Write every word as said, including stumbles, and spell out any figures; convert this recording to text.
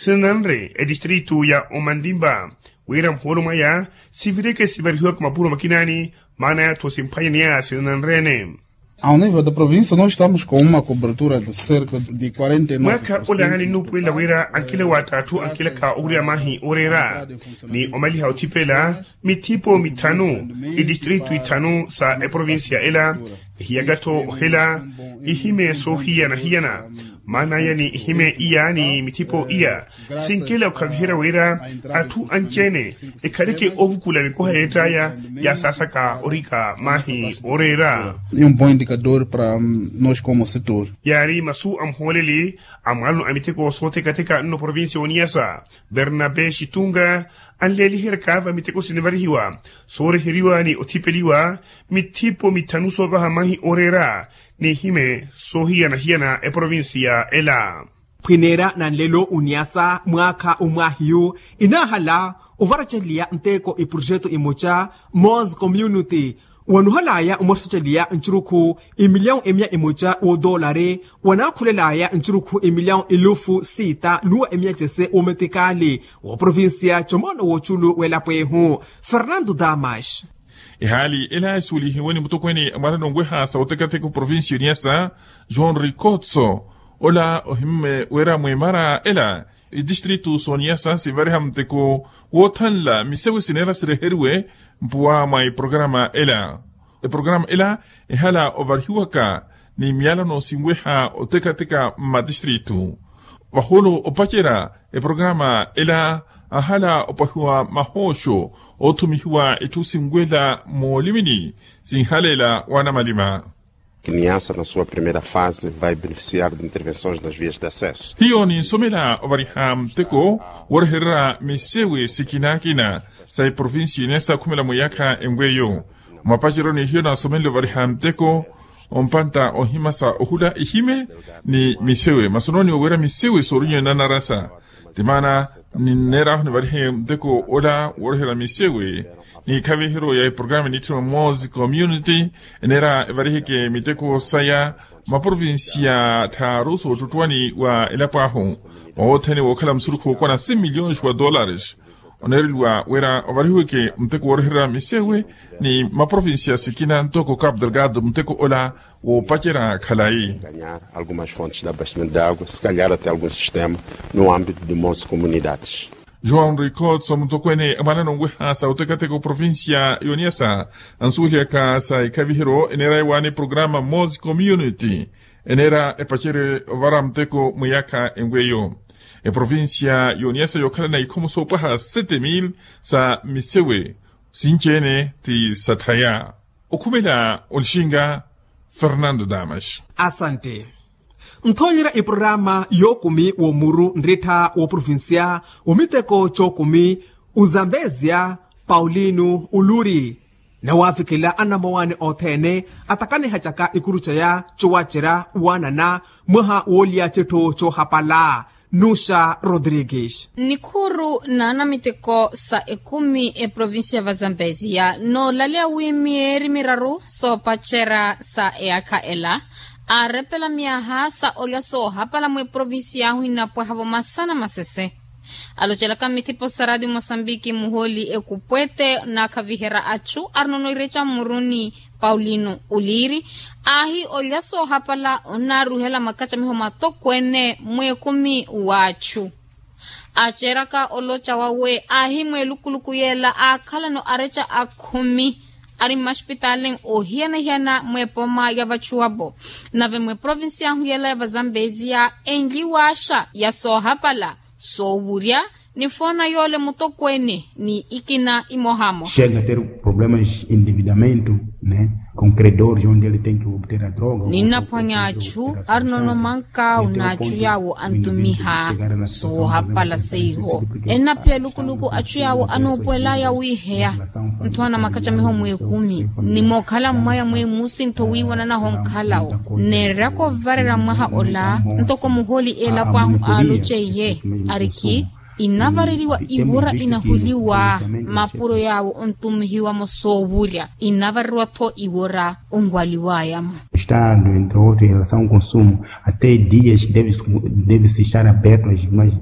Sinanre etistritu ya omantimpa wira muhoolo mwaya sivireke sivarihiwaka mapuro makinaani maana yatthu simphwanyaniyaya sinanrene. Ao nivo da provincia no estamos com uma cobertura de cerca de quarenta e nove mwaakha olaani nnuupuwelela wira ankila watta atthu ankilaka owurya mahi oreera ni omaliha othipela mithipo mithanu itistritu ithanu sa eprovincia ela. Ehiyaka-tho ohela ihime soohiyana-hiyana maana aya ni ihime iya ni mithipo iya sinkela okhaviherya wira atthu anci-ene ekhaleke ovukula mikoha yeett'aya yasaasaka orika mahi oreera. Ni um bom indicador para nós como setor. Yaari masu a muhooleli a mwaalano a miteko soothekatheka nno provincia oniyasa bernabe xitunga anleeliheryaka va miteko sinivarihiwa sooreheriwa ni othipeliwa mithipo mithanu soovaha mahi oreera n'ihime soohiyana-hiyana eprovincia ela. Phwineera na nlelo oniyasa mwaakha omwaahiyu inaahala ovaraceliya nteko eprojeto emoca mos community wanuhalaya omwaraceliya ncurukhu emilyawu emya emoca woodoolari wanaakhulelaya ncurukhu emilyawu elufu siita nuwa emyacese woometikali wooprovincia comoono wooculu w'elapo ehu. Fernando damas. Ehaali ela esuwelihiwe ni mutokweene a mwaala n'onweha sa otekateka oprovincia oniyasa joão ricotso ola ohimme wira mweemara ela itistritu sooniyasa sivariha muteko woothanla misewe sineera sireheriwe mpuwa mwa eprograma ela. Eprograma ela ehala ovarihiwaka ni miyalano sinweha otekateka mmatistritu vahoolo opacerya eprograma ela ahala opahiwa mahooxo oothumihiwa itthu sinwela moolimini sinhaleela wanamalima. Kiniyasa na sua primeira fase vai beneficiar de intervenções nas vias de acesso. Hiyo ninsomela ovariha muteko woorehererya misewe sikina-kina sa eprovincia inesa khumela mwiyaakha enweyo. Mwapaceryo ni hiyo nasomenle ovariha muteko ompantta ohimasa ohula ihime ni misewe masonooni oweera misewe soorinyana narasa. Ti maana ninneerahu nivarihe muteko ola woorehera misewe ni ikhaviheryo ya eprograma eniitthima mos community eneera evariheke miteko saya maprovincia tthaaru soottuttuwani wa elapo ahu. Mwawothene wookhala musurukhu wookwana cem milhões wa dólares oneereliwa wira ovarihiweke muteko wooreherya misewe ni maprovincia sikina ntoko capo delgado muteko ola woopacerya khalayi. Ganhar algumas fontes de abastecimento de água se calhar até algum sistema no ámbito de mos comunidades. João ricotso mutokweene a mwaala n'onweha sa otekateka oprovincia y'oniyasa ansuwelihaka sa ikhaviheryo eneera ewaana eprograma mos community eneera epacerye ovara muteko mwiyaakha enweyo. Eprovincia y'oniyasa yookhalana ikhomo soopwaha sete mil sa misewe sinci-ene ti satthaya. Okhumela olixinga fernando damas. Asante. Nthoonyerya eprorama yookumi w'omuru nrittha w'oprovincia w'omiteko cookumi ozambezia paulino oluri nawaavikela anamowaani othene atakaniha caka ikuru caya cowacerya waanana mwaha woolya citthu coohapala. Nuxa rodrigues. Nikhuru na anamiteko sa ekumi eprovincia va zambezia noolaleya wi myeeri miraru soopacerya sa eyaakha ela aarepela myaha sa olya soohapala mweprovincia ahu inapwahavo masana masese. Alocelaka mmithipo sa radio mosambiki muhooli ekupwete naakhaviherya achu arinono ireca mmuruni paulino oliiri aahi olya soohapala onnaaruhela makacamiho matokweene mweekumi w'achu. Aaceeraka oloca wawe aahi mweelukuluku yeela aakhalano areca akhumi ari mmaxipitaali ohiyana-hiyana mweepoma ya vachuwapo. Nave mweprovincia ahu yeela ya vazambezia enliwaaxa ya soohapala soowurya nifoona yoole mutokweene ni ikina imohamoha. Chega a ter problemas de endividamento, né, com credores onde ele tem que obter a droga. Ninnaphwanya achu arinono mankawu n'achu yaawo antumiha soohapala seiho. Ennaphiya elukuluku achu yaawo anoopuwelaya wiiheya nthowa na makacamiho mweekumi ni mookhala mmwaya mweemusi ntho wiiwananaho nkhalawo. Neererya koovarerya mwaha ola ntoko muhooli eelapo ahu aaloceiye arikhi inavareriwa iwora inahuliwa mapuro yaawo ontumihiwamo soowurya inavareriwa-tho iwora onwaliwayamo. Estado entre outros em relação ao consumo até dias deve-se estar aberto às imagens.